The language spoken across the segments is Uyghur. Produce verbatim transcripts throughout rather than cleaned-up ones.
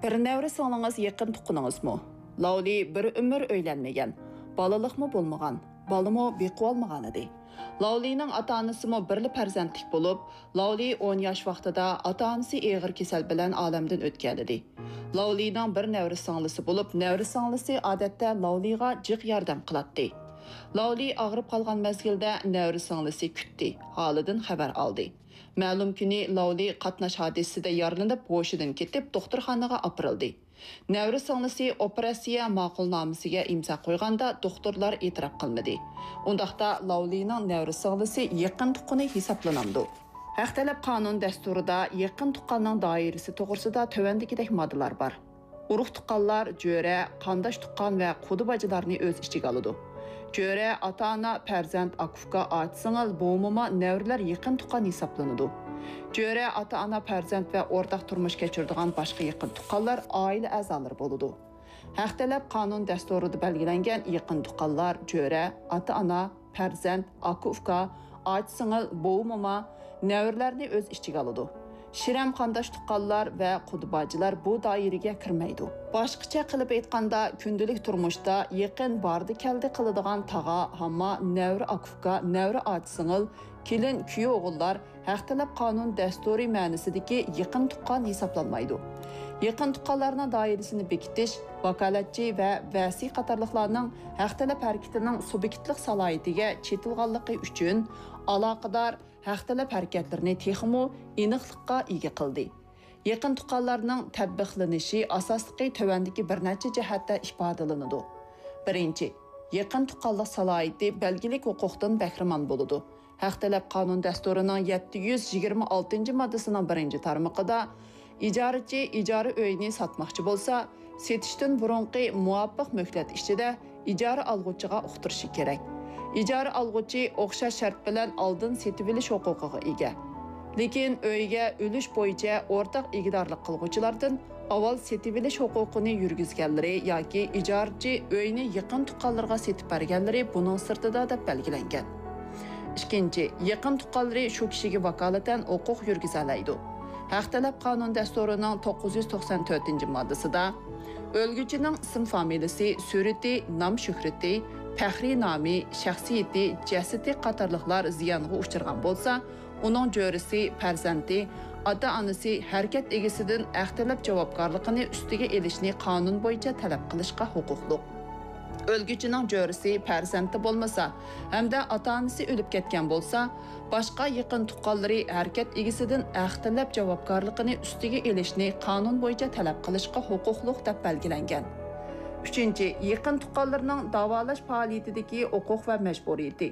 بىر نەۋرە سىڭلىڭىز يېقىن تۇغقىنىڭىزمۇ؟ لاۋلى بىر ئۆمۈر ئۆيلەنمىگەن، بالىلىقمۇ بولمىغان، بالىمۇ بېقىۋالمىغانىدى. لاۋلىنىڭ ئاتا-ئانىسىمۇ بىرلا پەرزەنتلىك بولۇپ، لاۋلى ئون ياش ۋاقتىدا ئاتا-ئانىسى ئېغىر كېسەل بىلەن ئالەمدىن ئۆتكەنىدى. لاۋلىنىڭ بىر نەۋرە سىڭلىسى بولۇپ، نەۋرە سىڭلىسى ئادەتتە لاۋلىغا جىق ياردەم قىلاتتى. لاۋلى ئاغرىپ قالغان مەزگىلدە نەۋرە سىڭلىسى كۈتتى، ھالىدىن خەۋەر ئالدى. مەلۇم كۈنى لاۋلى قاتناش ھادىسىسىدە يارىلىنىپ، ھوشىدىن كېتىپ، دوختۇرخانىغا ئاپىرىلدى. نەۋرە سىڭلىسى ئوپېراتسىيە ماقۇلنامىسىگە ئىمزا قويغاندا، دوختۇرلار ئېتىراپ قىلمىدى. ئۇنداقتا، لاۋلىنىڭ نەۋرە سىڭلىسى يېقىن تۇغقىنى ھېسابلىنامدۇ؟ ھەق تەلەپ قانۇن دەستۇرىدا يېقىن تۇغقاننىڭ دائىرىسى توغرىسىدا تۆۋەندىكىدەك ماددىلار بار. ئۇرۇق تۇغقانلار، جۆرە، قانداش تۇغقان ۋە قۇدا باجىلارنى ئۆز ئىچىگە ئالىدۇ. جۆرە، ئاتا-ئانا، پەرزەنت، ئاكا-ئۇكا، ئاچا-سىڭىل، بوۋا-موما، نەۋرىلەر يېقىن تۇغقان ھېسابلىنىدۇ. جۆرە، ئاتا-ئانا، پەرزەنت ۋە ئورتاق تۇرمۇش كەچۈرىدىغان باشقا يېقىن تۇغقانلار ئائىلە ئەزالىرى بولىدۇ. ھەق تەلەپ قانۇن دەستۇرىدا بەلگىلەنگەن يېقىن تۇغقانلار، جۆرە، ئاتا-ئانا، پەرزەنت، ئاكا-ئۇكا، ئاچا-سىڭىل، بوۋا-موما، نەۋرىلەرنى ئۆز ئىچىگە ئالىدۇ. شىرەم قانداش تۇغقانلار ۋە قۇدا باجىلار بۇ دائىرىگە كىرمەيدۇ. باشقىچە قىلىپ ئېيتقاندا، كۈندىلىك تۇرمۇشتا يېقىن باردى-كەلدى قىلىدىغان تاغا، ھاما، نەۋرە ئاكا-ئۇكا، نەۋرە ئاچا-سىڭىل، كېلىن، كۈيئوغۇللار، ھەق تەلەپ قانۇن دەستۇرى مەنىسىدىكى يېقىن تۇغقان ھېسابلانمايدۇ. يېقىن تۇغقانلارنىڭ دائىرىسىنى بېكىتىش، ۋاكالەتچى ۋە ۋەسىي قاتارلىقلارنىڭ ھەق تەلەپ ھەرىكىتىنىڭ سۇبيېكتلىق سالاھىيىتىگە چېتىلغانلىقى ئۈچۈن، ئالاقىدار ھەق تەلەپ ھەرىكەتلىرىنى تېخىمۇ ئېنىقلىققا ئىگە قىلدى. يېقىن تۇغقانلارنىڭ تەتبىقلىنىشى ئاساسلىقى تۆۋەندىكى بىر نەچچە جەھەتتە ئىپادىلىنىدۇ. بىرىنچى، يېقىن تۇغقانلىق سالاھىيىتى بەلگىلىك ھوقۇقتىن بەھرىمەن بولىدۇ. ھەق تەلەپ قانۇن دەستۇرىنىڭ يەتتە يۈز يىگىرمە ئالتىنچى ماددىسىنىڭ بىرىنچى تارمىقىدا، ئىجارىچى ئىجارە ئۆيىنى ساتماقچى بولسا، سېتىشتىن بۇرۇنقى مۇۋاپىق مۆھلەت ئىچىدە ئىجارە ئالغۇچىغا ئۇقتۇرۇشى كېرەك. ئىجارە ئالغۇچى ئوخشاش شەرت بىلەن ئالدىن سېتىۋېلىش ھوقۇقىغا ئىگە. لېكىن ئۆيگە ئۈلۈش بويىچە ئورتاق ئىگىدارلىق قىلغۇچىلاردىن ئاۋۋال سېتىۋېلىش ھوقۇقىنى يۈرگۈزگەنلىرى ياكى ئىجارىچى ئۆينى يېقىن تۇغقانلىرىغا سېتىپ بەرگەنلىرى بۇنىڭ سىرتىدا دەپ بەلگىلەنگەن. ئىككىنچى، يېقىن تۇغقانلىرى شۇ كىشىگە ۋاكالىتەن ھوقۇق يۈرگۈزەلەيدۇ. ھەق تەلەپ قانۇن دەستۇرىنىڭ توققۇز يۈز توقسان تۆتىنچى ماددىسىدا، ئۆلگۈچىنىڭ ئىسىم فامىلىسى، سۈرىتى، نام شۆھرىتى، پەخرىي نامى، شەخسىيىتى، جەسىتى قاتارلىقلار زىيانغا ئۇچرىغان بولسا، ئۇنىڭ جۆرىسى، پەرزەنتى، ئاتا-ئانىسى ھەرىكەت ئىگىسىدىن ھەق تەلەپ جاۋابكارلىقىنى ئۈستىگە ئېلىشنى قانۇن بويىچە تەلەپ قىلىشقا ھوقۇقلۇق. ئۆلگۈچىنىڭ جۆرىسى، پەرزەنتى بولمىسا ھەمدە ئاتا-ئانىسى ئۆلۈپ كەتكەن بولسا، باشقا يېقىن تۇغقانلىرى ھەرىكەت ئىگىسىدىن ھەق تەلەپ جاۋابكارلىقىنى ئۈستىگە ئېلىشنى قانۇن بويىچە تەلەپ قىلىشقا ھوقۇقلۇق دەپ بەلگىلەنگەن. ئۈچىنچى، يېقىن تۇغقانلىرىنىڭ داۋالاش پائالىيىتىدىكى ھوقۇق ۋە مەجبۇرىيىتى.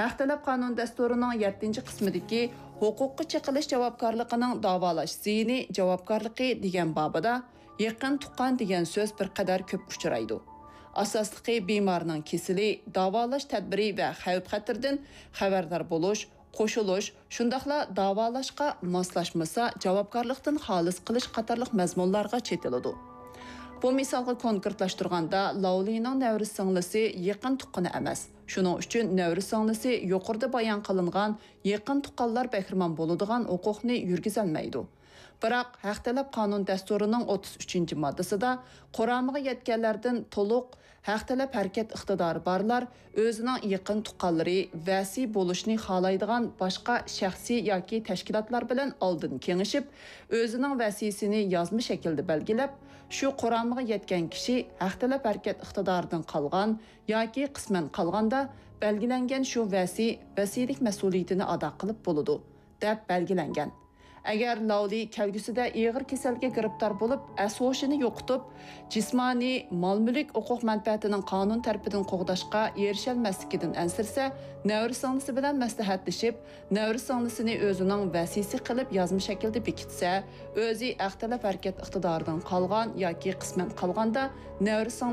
ھەق تەلەپ قانۇن دەستۇرىنىڭ يەتتىنچى قىسمىدىكى ھوقۇققا چېقىلىش جاۋابكارلىقىنىڭ داۋالاش زىيىنى جاۋابكارلىقى دېگەن بابىدا يېقىن تۇغقان دېگەن سۆز بىر قەدەر كۆپ ئۇچرايدۇ. ئاساسلىقى بىمارنىڭ كېسىلى، داۋالاش تەدبىرى ۋە خەۋپ-خەتىرىدىن خەۋەردار بولۇش، قوشۇلۇش، شۇنداقلا داۋالاشقا ماسلاشمىسا جاۋابكارلىقتىن خالىس قىلىش قاتارلىق مەزمۇنلارغا چېتىلىدۇ. بۇ مىسالغا كونكرېتلاشتۇرغاندا، لاۋلىنىڭ نەۋرە سىڭلىسى يېقىن تۇغقىنى ئەمەس. شۇنىڭ ئۈچۈن نەۋرە سىڭلىسى يۇقىرىدا بايان قىلىنغان يېقىن تۇغقانلار بەھرىمەن بولىدىغان ھوقۇقنى يۈرگۈزەلمەيدۇ. بىراق، ھەق تەلەپ قانۇن دەستۇرىنىڭ ئوتتۇز ئۈچىنچى ماددىسىدا قۇرامىغا يەتكەنلەردىن تولۇق ھەق تەلەپ ھەرىكەت ئىقتىدارى بارلار ئۆزىنىڭ يېقىن تۇغقانلىرى، ۋەسىي بولۇشنى خالايدىغان باشقا شەخسىي ياكى تەشكىلاتلار بىلەن ئالدىن كېڭىشىپ، ئۆزىنىڭ ۋەسىيسىنى يازما شەكىلدە بەلگىلەپ، شۇ قۇرامىغا يەتكەن كىشى ھەق تەلەپ ھەرىكەت ئىقتىدارىدىن قالغان ياكى قىسمەن قالغاندا بەلگىلەنگەن شۇ ۋەسىي، ۋەسىيلىك مەسئۇلىيىتىنى ئادا قىلىپ بولىدۇ، دەپ بەلگىلەنگەن. ئەگەر لاۋلى كەلگۈسىدە ئېغىر كېسەلگە گىرىپتار بولۇپ، ئەس-ھوشىنى يوقىتىپ، جىسمانىي، مال-مۈلۈك ھوقۇق مەنپەئەتىنىڭ قانۇن تەرىپىدىن قوغداشقا ئېرىشەلمەسلىكىدىن ئەنسىرىسە، نەۋرە سىڭلىسى بىلەن مەسلىھەتلىشىپ، نەۋرە سىڭلىسىنى ئۆزىنىڭ ۋەسىيسى قىلىپ يازما شەكىلدە بېكىتسە، ئۆزى ھەق تەلەپ ھەرىكەت ئىقتىدارىدىن قالغان ياكى قىسمەن قالغاندا، نەۋرە سىڭلىسى